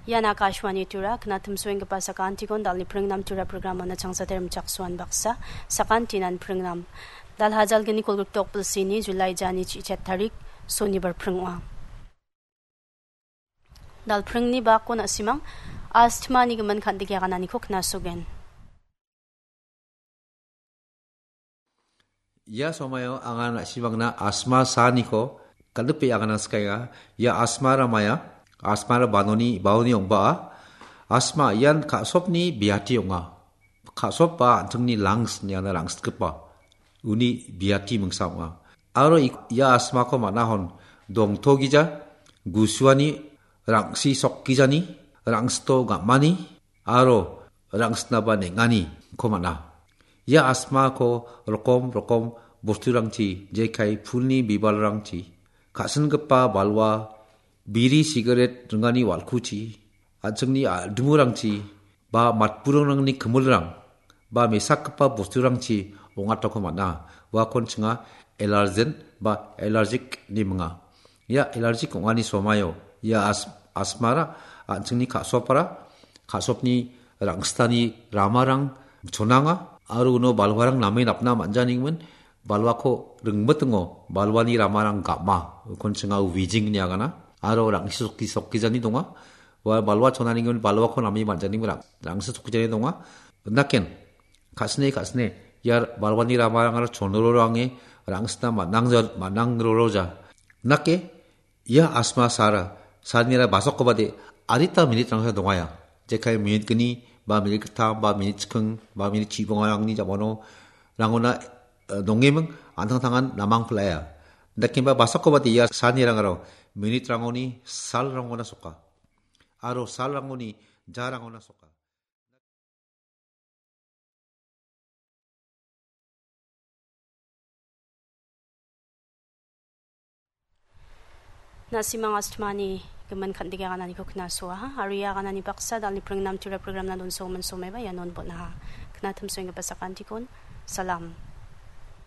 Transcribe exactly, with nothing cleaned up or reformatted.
Ian Akashvani Tura, knatimsoenggipa sakantikon dalni pringnam Tura programona changsater michaksoan baksa, sakantinan pringnam. Dal hajalgni kolgrikdok bilsini July jani chichet tarik, sonibar pring ong·a. Dal pringni bako na·simang, astmani gimin kandike agananiko knasogen. Ia somaio anga na·simangna asma saaniko kal·gripe agana skaenga. Ia asmara maia, asmara banoni, baoni ong·baa. Asma ian ka·sopni biati ong·a. Ka·sop ba an·chingni lungs niana rangsitgipa uni biati mingsa ong·a. Aro ik-, ia asmako man·ahon dongtogija, gusuani, rangsi sokgijani, rangsito gam·ani, aro rangsitnaba neng·aniko man·a. Ia asmako rokom rokom bosturangchi, jekai pulni bibalrangchi, ka·singipa balwa, biri sigaret ringani walkuchi, an·chingni a-, dimurangchi, ba matburingrangni kimilrang, ba mesakgipa bosturangchi ong·atako man·a. Uakon chinga allergen ba allergic ine minga. Ia allergic ong·ani somaio ia as-, asmara an·chingni ka·sopara, ka·sopni rangsitani ramarang chonanga, aro uno balwarang name napna man·janigimin balwako ringmitingo balwani ramarang gam·a, ukon chinga wheezing ine agana, aro rangsi sokki-, sokgijani donga. Ua balwa chonanigimin balwako name man·janigimin rang-, rangsi sokgijani donga. Naken, ka·sine, ka·sine, ia balwani ramarangara chonroroange rangsitna man·angja-, man·angroroja. Nake, ia asma sara, sanira basokobade, adita minitrangsa dongaia. Jekai minit gni, ba minit gittam, ba minit chiking, ba minit chibongarangni jamano, rangona, eh, dongeming, an·tangtangan namang pil·aia. Dakemba basokobade ia sanirangaro, minitrangoni, salrangona soka. Aro salrangoni, jarangona soka. Na·simang astmani gimin kandike agananiko knasoaha. Aro ia aganani baksa dalni pringnam Tura programna donsogimin somaiba ianon bon·aha. Knatimsoenggipa sakantikon. Salam.